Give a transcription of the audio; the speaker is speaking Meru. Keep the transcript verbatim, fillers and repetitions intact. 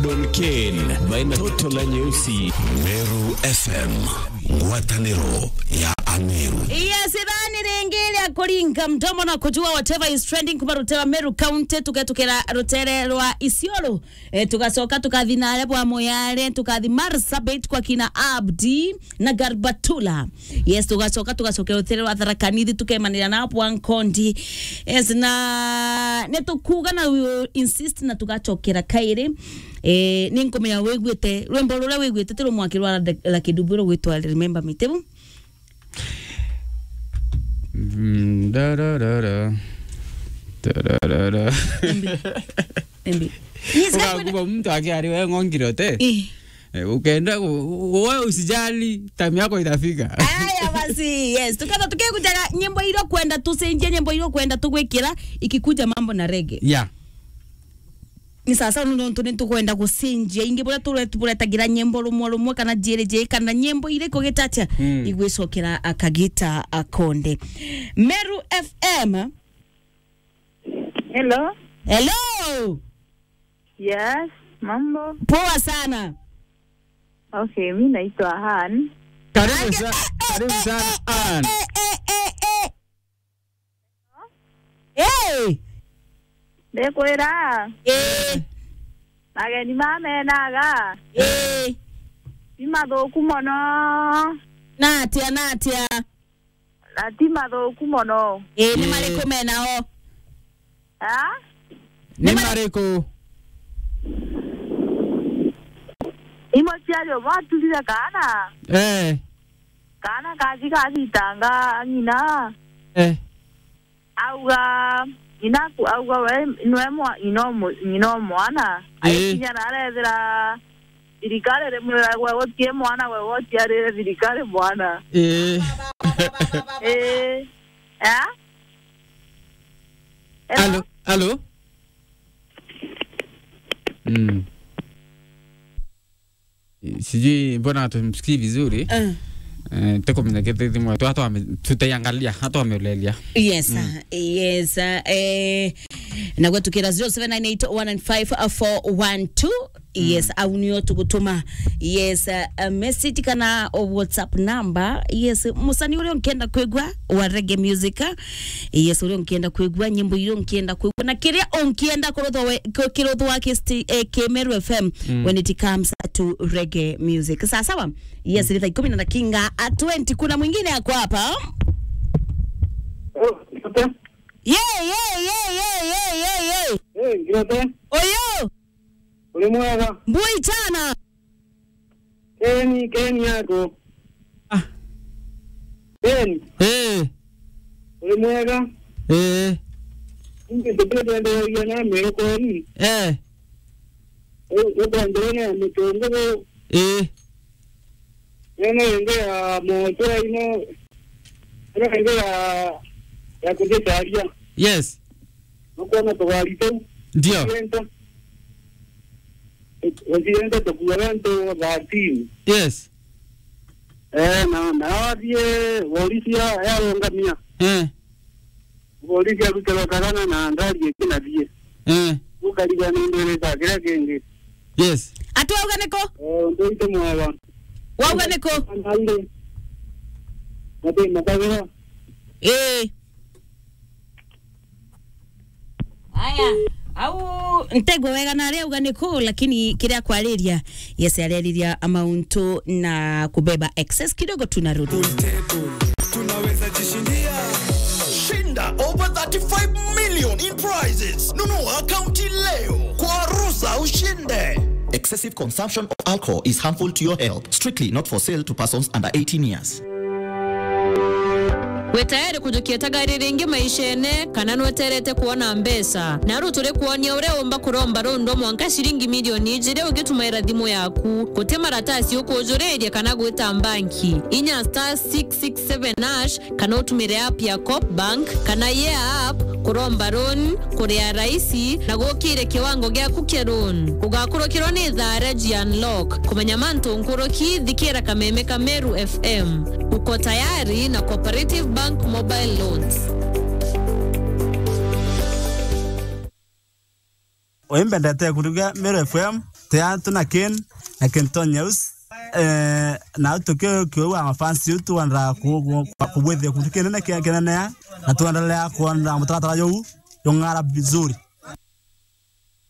Ken, baina toto la nyeusi. Meru F M, ngwataniro ya Ameru. Yes, ithani ringi ria kuringa mdomo na kujua whatever is trending kuma rutere rwa Meru County, tuketukira rutere rwa Isiolo. Eh, tugacoka tukathi nare bwa Moyale, tukathi Marsabit kwa kina Abdi na Garbatula. Yes, tugacoka tugacokera rutere rwa Tharaka Nithi, tukemanira na bwa Nkondi. Yes, na nitukuga na we will insist na tugacokera kairi. Eh, ni nkumenya wiguite rwimbo ruria wiguite ti rumwaki rwa Lucky Dube rugwitwa Remember Me, tibu? Mm, da, da, da, da. Da, da, da, da. Embi. Embi. Yes, ukakuba mtu akiari we ng'ongire te. Eh. Eh, ukenda ku-, wewe usijali, time yako itafika. Aya basi, yes. Tukatha tukikujaga nyimbo iria kwenda tucenjie, nyimbo iria kwenda tugwikira, ikikuja mambo na reggae. Yeah. Ni sasa nontu ni tukwenda gucenjia ingi buria turet-, buretagira nyimbo rumwe rumwe kana jiri jiri kana nyimbo iriku gitatia. Mm. Igwicokera akagita akonde. Meru F M. Hello. Hello. Yes, mambo. Poa sana. Okay, mi naitwa Han. Karibu sa-, karibu sana, Ann. Eh, eh, eh, eh, eh. Hey! Ndikwira. Eh. Ageni mamenaga. Eh. Ti mathuku mono. Na atia, na atia? Na ti mathuku mono. Eh, ni, eh, mariku menao? Ha? Ni, ni mari-, mariku? Ni muciari umwe aturire kaana. Eh. Kaana kathi gacitanga ng'ina. Eh. Auga, ng'ina aku-, auga we, nwe mwa-, ng'ina o mu-, ng'ina o mwana. Eh. Agikinya na arethira thirikari rimwira gwe gutie mwana, gwe guciarire thirikari mwana. Eh. Eh. Eh? Hello? Hello? Mm. Sijui mbona hatumsikii vizuri. Eh. Eh, tekomenya kete thimu yetu, hata wame-, tutaiangalia, hata wameulelia. Yes, mm, ah, yes, ah, eh, na gwetukira zero seven nine eight one nine five four one two. Yes, mm, au nio tugutuma. Yes, uh, uh, message kana o WhatsApp number. Yes, musani uria unkienda kwigua wa reggae music. Yes, uria unkienda kwigua, nyimbo iria unkienda kwigua, na kiria unkienda kuruthwa we-, ku-, kiruthwa ki sti-, eh, ki Meru F M, mm, when it comes to reggae music. Sawa sawa? Yes, mm, ni thaa ikumi na dakinga a twenty. Kuna mwingine ako hapa. Oh, okay. Ye, ye, ye. Eh, ngirote. Oyo. Uri mwega? Mbui chana. Keni, Keni yako. Ah. Keni. Eh. Uri mwega? Eh. Ingi tukitwendereria na Meru kweri. Eh. U-, ukwambirene ya Mutunguru. Eh. Ene ingi ya Mochwa ino. Ene ingi ya, ya Kujicharia. Yes. Nukwona tugari tuu. Ndio. Tukienda. Tukienda tukuaga antu thirteen. Yes. Eh, na, na athie, borisi ya, yarungamia. Eh. Borisi arutirwa kagana na ngari ikinathie. Eh. Ukarigwa ni ndwirite kiria kingi. Yes. Ati wauga niko? Eh, untu ite mwawa. Wauga niko? Anaire. Mate matagira. Eh. Aya, au ntegwe wega na aria auga ni ku, lakini kiria kwariria, yes, areriria mauntu na kubeba excess kidogo tu na rudi. Pool table, tunaweza jishindia. Shinda over thirty-five million in prizes. Nunua akaunti leo kwa Ruza ushinde. Excessive consumption of alcohol is harmful to your health. Strictly not for sale to persons under eighteen years. Wi tayari kujukia tagari ringi maishene, kana nweterete kwona mbeca? Naru turi kwonia uria umba kuromba rundo mwanka ciringi milioni ijiri ugitumaira thimu yaku. Guti maratasi ukujuriria kana gwita mbanki. Inya star six six seven hash, kana utumire app ya Coop Bank kana Yeah app kuromba loan, kuria raisi na gukire kiwango giaku kia loan. Ugakurukirwa ni thaa ria G Unlock. Kumenya mantu nkuruki, thikira kameme ka Meru F M. Uko tayari na Cooperative Bank Mobile Loans. Oimbendete kuruga Meru F M. Tea tu na Ken, na Kenton Nyaus. Eh, na tukiuga mafans yetu tuendelea ku-, ku-, kubwithia kuntu kinene kia kinene ya, na tuendelea kuona mutaratara juu jung'ara vizuri.